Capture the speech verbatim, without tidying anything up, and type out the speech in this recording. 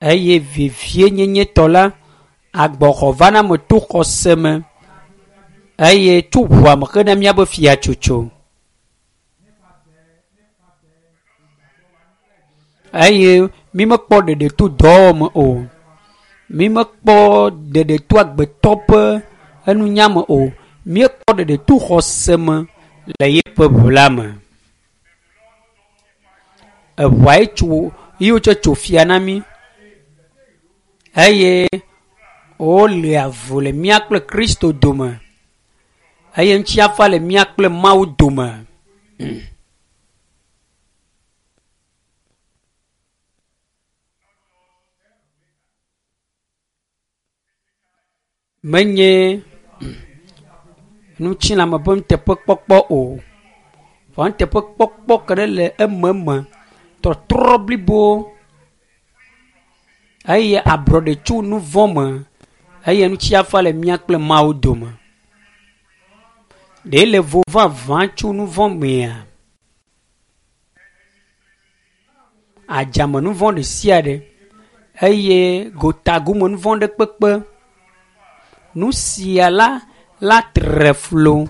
Eye vevienyenyetɔ la, agbɔxɔvaname to xɔse me eye tso ʋua me hena míaƒe fiatsotso. Eye mímekpɔ ɖeɖe to dɔwɔwɔ me o. Mímekpɔ ɖeɖe to agbetɔ ƒe enunya me o. Míekpɔ ɖeɖe to xɔse me le yeƒe ʋu la me. Eʋua ye tso ye wotsɔ tso fia na mí eye wole avu le mía kple Kristo dome eye ŋutifafa le mía kple Mawu dome. Menye ŋutilãme ƒe nuteƒekpɔkpɔ o. Vɔ nuteƒekpɔkpɔ ke ɖe le ememe, tɔtrɔ blibo eye ablɔɖe tso nu vɔ̃ me eye ŋutifafa le mía kple Mawu dome. Ɖe le vo vavã tso nu vɔ̃ mea? Adzame nu vɔ̃ ɖe sia ɖe eye gotagome nu vɔ̃ ɖe kpekpe. Nu sia la la tre flo.